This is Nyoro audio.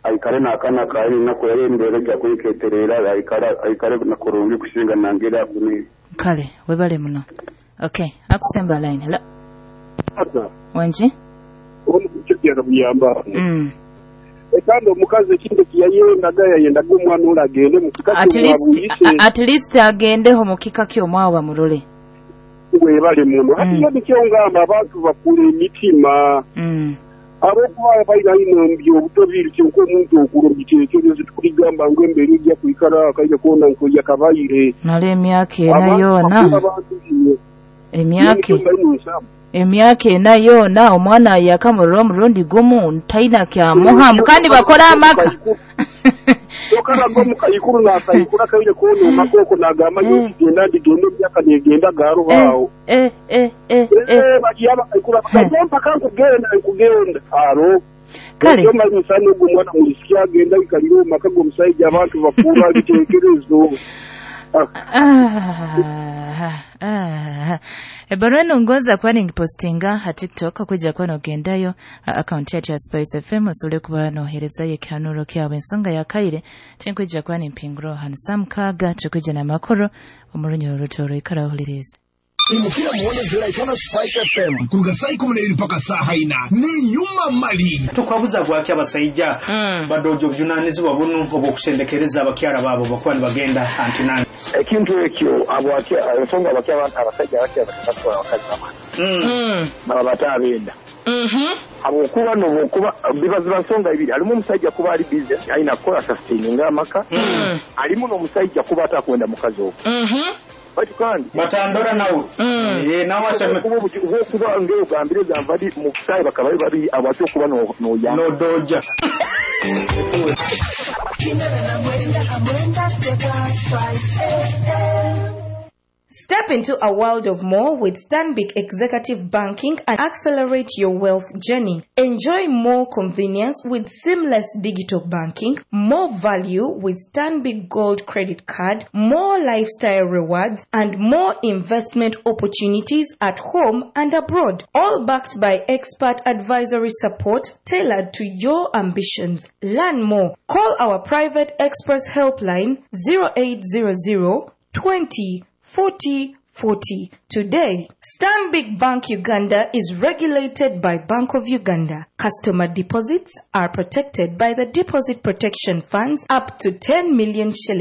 Aikare n'akaana kawe ninaku era embeera ejja kwiketerera aikare kurungi kusinga nangeri akunire. Kale, webale muno. Okay, akusemba line. Hello. Wangi? Kandi omukazi ekintu eki yayendaga, yayendaga omwana ole agende mu kika At least, ky'omwabuyise. At least agendeho mu kika ky'omwawo bamulole. Webale muno. Hati nyowe nikyo ngamba abantu bakura emitima. Ahabw'okuba baira inho mu by'obuto biri kyonka omuntu okura omu biteekerezo tikuligamba ngu embeera eija kwikara akaire koona nk'eyakabaire. Mara emyaka ena Abantu yoona. bakura abantu inywe. Nyowe Emyaka nikyo mbaire ninsaba. Emyaka ena yoona omwana yakamurora omurundi gumu taina kyamuha Ekyo kandi bakora amaka. Kyokka omukaikuru naakaikura akaire koona omaka okwo naagamba nyowe ndigenda ndigenda emyaka neegenda gharoho agho. Baliyo abakaikuru abagamba nyowe mpaka nkugenda nkugenda aro. Kale. Ekyo manyisa n'ogwo omwana mwisiki agenda aikalire omu maka g'omusaija abantu bakura ebiteekerezo. Ebbaruwa eno ngonza kuba ningipositinga ha TikTok okwijja kuba nogendayo account yaitu ya Spice FM osobole kuba noheerezayo ekihanuuro kyawe. Ensonga ya kaire tinkwijja kuba nimpinguraho hanu saa 6 tukwija n'amakuru omu runyoro rutooro. Ikara ohulirize. Imukira muone Julaikana Spice FM kuruga saa 12 mpaka saa 4 ni nyuma mali. Tukwabuza gwaki abasaija badoja obujunanizibwa bunu obw'okusendekereza abakyara baabo bakuba nibagenda antinani. Ekintu ekyo ensonga abasajja abakya batwara abakazi bamwe baba batabenda habwokuba nobwokuba biba ziba nsonga ibiri. Halimu omusajja kuba ali busy alina kukola sustaininga amaka, halimu n'omusajja kuba atakwenda mukazi ogwo. Baitu kandi batandora nawe nawe aseme okuba ng'ogambire gamba di mu busayi bakaba bari babiri abatyo okuba noyamba nodoja. Step into a world of more with Stanbic Executive Banking and accelerate your wealth journey. Enjoy more convenience with seamless digital banking, more value with Stanbic Gold Credit Card, more lifestyle rewards, and more investment opportunities at home and abroad. All backed by expert advisory support tailored to your ambitions. Learn more. Call our private express helpline 0800 20 40 40 today. Stanbic Bank Uganda is regulated by Bank of Uganda. Customer deposits are protected by the Deposit Protection Funds up to 10 million shillings.